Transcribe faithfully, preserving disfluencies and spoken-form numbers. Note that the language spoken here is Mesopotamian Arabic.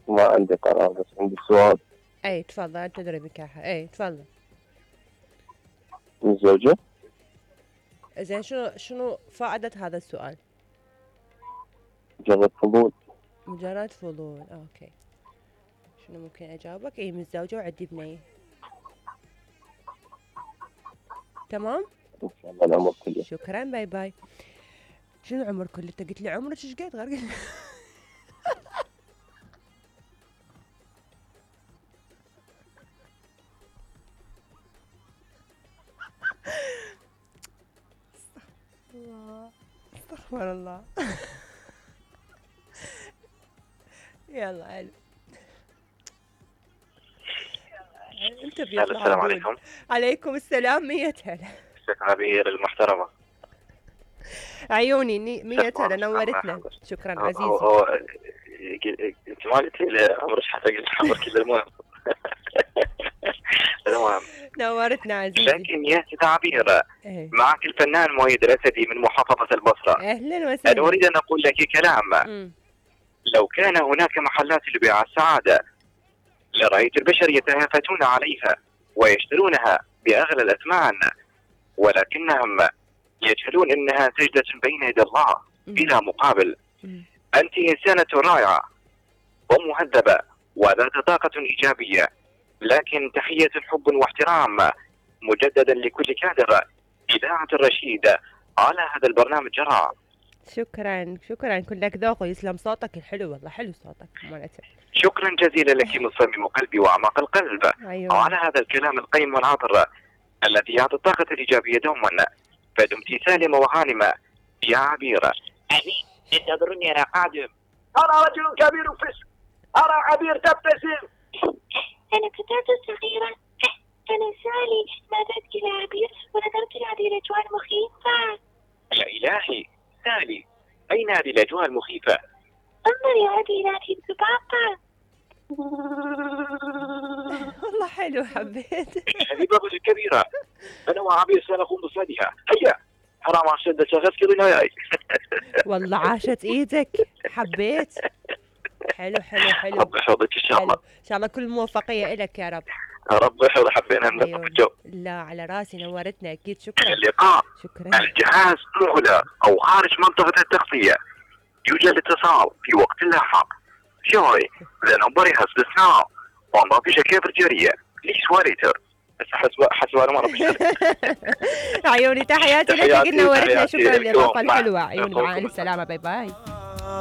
ما عندي قرار بس عندي سؤال. اي تفضل، انت تدري بكاحة. اي تفضل. متزوجة؟ زين شنو شنو فائدة هذا السؤال؟ مجرد فضول. مجرد فضول، اوكي. شنو ممكن اجاوبك؟ اي متزوجة وعندي بنية. تمام؟ ان شاء الله العمر كله. شكرا، باي باي. شنو العمر كله؟ انت قلت لي عمرك ايش قد غير؟ الله، استغفر الله. يلا حلو. انت بيطلع. السلام عليكم. عليكم السلام. مية هلا. الشيخ عبير المحترمة. عيوني مية هلا، نورتنا. شكرا عزيزي. هو انت ما قلت لي عمرك حتى قلت عمرك كله. المهم المهم نورتنا عزيزي. لكن يا سيدة عبير، ايه. معك الفنان مؤيد الأسدي من محافظة البصرة. اهلا وسهلا. أنا أريد أن أقول لك كلام. م. لو كان هناك محلات لبيع السعادة لرأيت البشر يتهافتون عليها ويشترونها بأغلى الأثمان، ولكنهم يجهلون أنها سجدة بين يدي الله بلا مقابل. م. أنت إنسانة رائعة ومهذبة وذات طاقة إيجابية، لكن تحية حب واحترام مجددا لكل كادر إذاعة الرشيد على هذا البرنامج جرى. شكرا شكرا، كلك ذوق ويسلم صوتك الحلو، والله حلو صوتك مالتك. شكرا جزيلا لك من صميم قلبي وأعماق القلب. أيوة. على هذا الكلام القيم والعاطر الذي يعطي الطاقة الإيجابية دوما. فدمت سالمة وغانمة يا عبيرة. أمين، انتظروني أنا قادم. أنا رجل كبير فسق، أرى عبير تبتسم. أنا فتاة صغيرة، أنا سالي، نادت إلى عبير ونظرت لهذه الأجواء المخيفة. يا إلهي سالي، أين هذه الأجواء المخيفة؟ انظري هذه هذه الذبابة. والله حلو، حبيت. هذه بابة كبيرة، أنا وعبير سنقوم بصيدها. هيا حرام على شدة شغس كذا ياي. والله عاشت ايدك، حبيت. حلو حلو حلو. رب يحفظك إن شاء الله. ان شاء الله كل موفقية لك يا رب. رب يحفظ. حبينا نلطف الجو. لا على راسي، نورتنا اكيد. شكرا. اللقاء. شكرا. الجهاز مغلق أو خارج منطقة التغطية، يوجد اتصال في وقت لاحق. Joy, the number has been now. وما فيش كيف رجالية. ليش وريتر؟ بس حسب حسب أنا ما ربي. عيوني تحياتي لك، قلنا ورثنا. شكرا للإضافة الحلوة. عيوني، مع السلامة، باي باي.